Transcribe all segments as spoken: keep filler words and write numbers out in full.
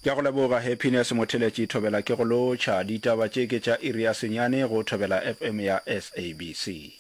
Ke a go leboga Happiness Motheletši Thobela ke go lotšha. Ditaba tše ke tša iri ya senyane go Thobela FM ya SABC.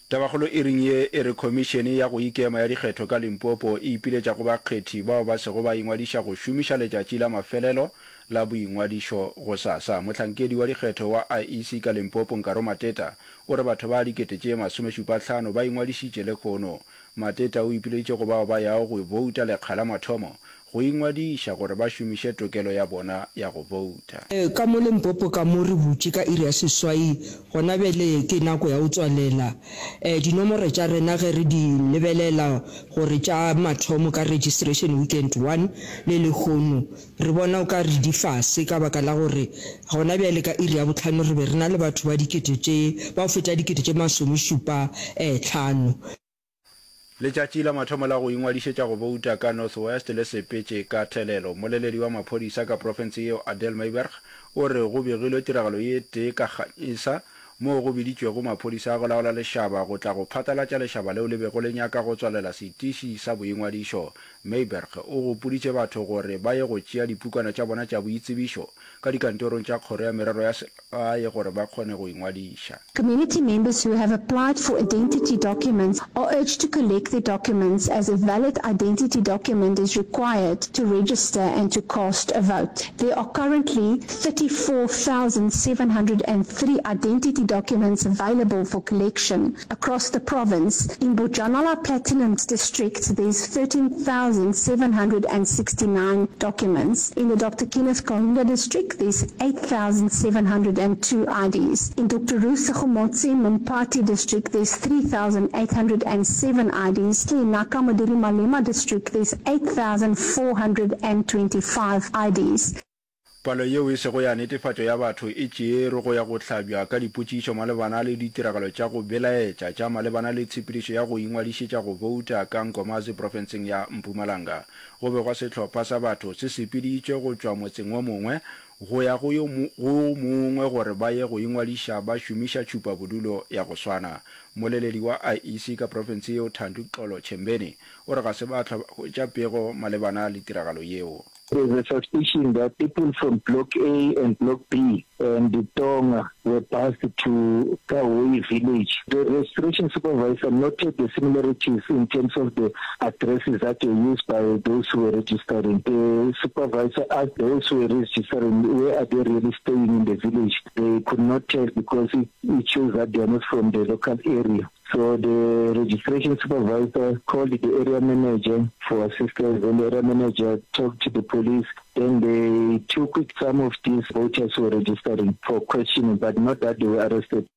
Tabakgolo iring ye e re Khomišene ya go Ikema ya Dikgetho ka Limpopo e ipiletša go bakgethi bao ba sego ba ingwadiša go šomiša letšatši la mafelelo la boingwadišo gosasa. Mohlankedi wa dikgetho wa IEC ka Limpopo, Nkaro Mateta, o re batho ba dikete tše masomešupa-hlano ba ingwadišitše lehono. Mateta o ipileditše go bao ba yago go bouta lekga la mathomo go ingwadiša gore ba šomiše tokelo ya bona ya go bouta. Ka mo Limpopo ka mo re butše ka iri ya seswai, gona bjale ke nako ya go tswalela. Dinomoro tša rena ge re di lebelela gore tša mathomo ka registration weekend one le lehono, re bona o ka re di fase ka baka la gore gona bjale ka iri ya bohlano re be re na le batho ba dikete tše, ba go feta dikete tše masomešupa hlano. Letšatši la mathomo la go ingwadišetša go bouta ka North West le sepetše ka thelelo. Mmoleledi wa maphodisa ka profense yeo Adele Myburgh o re go begilwe tiragalo ye tee ka Ganyesa moo go biditšwego maphodisa a go laola lešaba go tla go phatlalatša lešaba leo le bego le nyaka go tswalela setiši sa boingwadišo. Myburgh o gopoditše batho gore ba ye go tšea dipukwana tša bona tša boitsebišo ka dikantorong tša Kgoro ya Merero ya Selegae gore ba kgone go ingwadiša. Community members who have applied for identity documents are urged to collect their documents as a valid identity document is required to register and to cast a vote. There are currently thirty four thousand seven hundred and three identity documents available for collection across the province. In Bojanala Platinum District there's thirteen thousand seven hundred and sixty nine documents. In the Doctor Kenneth Kaunda District there's eight thousand seven hundred and two IDs. In Doctor Ruth Segomotsi Mompati District there's three thousand eight hundred and seven IDs. In Ngaka Modiri Malema District there's eight thousand four hundred and twenty five IDs. Palo yeo e sego ya netefatšo ya batho e tšeerwe go ya go hlabja ka dipotšišo malebana le ditiragalo tša go belaetša tša malebana le tshepedišo ya go ingwadišetša go bouta ka Nkomazi profenseng ya Mpumalanga. Go begwa sehlopha sa batho se sepeditšwe go tšwa motseng wo mongwe go ya go yo go mongwe gore ba ye go ingwadiša ba šomiša tšhupabodulo ya go swana. Mmoleledi wa IEC ka profense yeo Thandu Xolo Tshembeni o re ga se ba hlwa ba hwetša pego malebana le tiragalo yeo. There's a suspicion that people from Block A and Block B and Tonga were bused to Kahoi village. The registration supervisor noted the similarities in terms of the addresses that were used by those who were registering. The supervisor asked those who were registering where are they really staying in the village. They could not tell because it, it shows that they are not from the local area. So the registration supervisor called the area manager for assistance, and the area manager talked to the police. Then they took some of these voters who were registering for questioning, but not that they were arrested.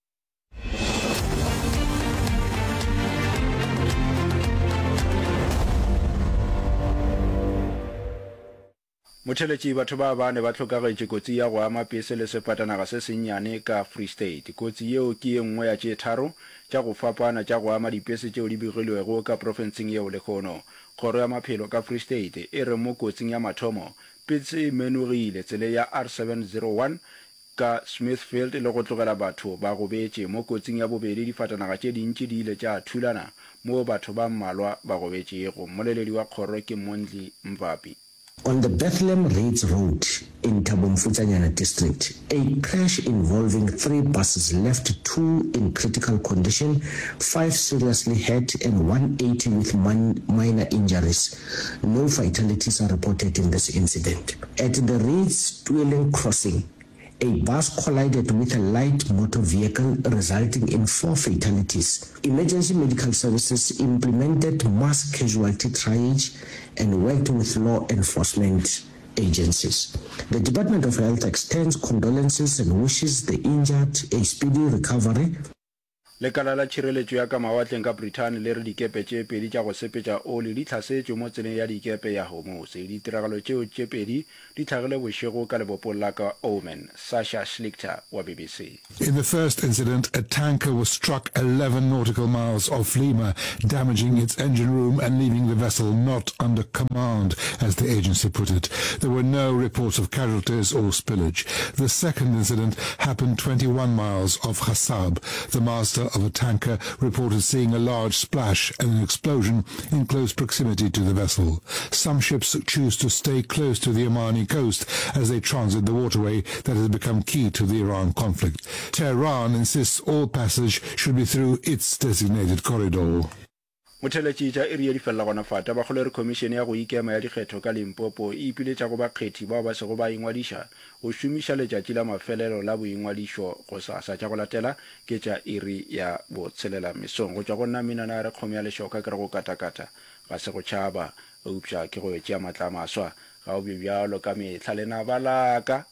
Motheletši, Batho ba bane ba hlokagetše kotsi ya go ama pese le sefatanaga se sennyane ka Free State. Kotsi yeo ke ye nngwe ya tše tharo tša go fapana tša go ama dipese tšeo di begilwego ka profenseng yeo lehono. Kgoro ya Maphelo ka Free State e re mo kotsing ya mathomo, pese e menogile tseleng ya R seven zero one ka Smithfield le go tlogela batho ba gobetše. Mo kotsing ya bobedi, difatanaga tše dintši di ile tša thulana moo batho ba mmalwa ba gobetšego. Mmoleledi wa kgoro ke Mondli Mvapi. On the Bethlehem Reitz Road in Thabo Mfutsanyana District, a crash involving three buses left two in critical condition, five seriously hurt and one eighty with minor injuries. No fatalities are reported in this incident. At the Reitz Tweeling crossing, a bus collided with a light motor vehicle resulting in four fatalities. Emergency medical services implemented mass casualty triage and worked with law enforcement agencies. The Department of Health extends condolences and wishes the injured a speedy recovery. Lekala la tšhireletšo ya ka mawatleng ka Brithani le re dikepe tše pedi tša go sepetša oli di hlasetšwe mo tseleng ya dikepe ya Hormuz. Ditiragalo tšeo tše pedi di hlagile bošego ka lebopong la ka Oman. Sasha Schlichter wa BBC. In the first incident, a tanker was struck eleven nautical miles off Lima, damaging its engine room and leaving the vessel not under command, as the agency put it. There were no reports of casualties or spillage. The second incident happened twenty-one miles off Khasab. The master personnel of a tanker reported seeing a large splash and an explosion in close proximity to the vessel. Some ships choose to stay close to the Omani coast as they transit the waterway that has become key to the Iran conflict. Tehran insists all passage should be through its designated corridor. Motheeletši tša iri ye di felela gona fa. Tabakgolo e re Khomišene ya go Ikema ya Dikgetho ka Limpopo e ipiletša go bakgethi bao ba sego ba ingwadiša go šomiša letšatši la mafelelo la boingwadišo gosasa. Tša go latela ke tša iri ya botshelela mesong. Go tšwa go nna Minana a re kgomo ya lešoka ke re go katakata ga se go tšhaba eupša ke go yo tšea matla a maswa. Ga o be bjalo ka mehla lenaba la ka.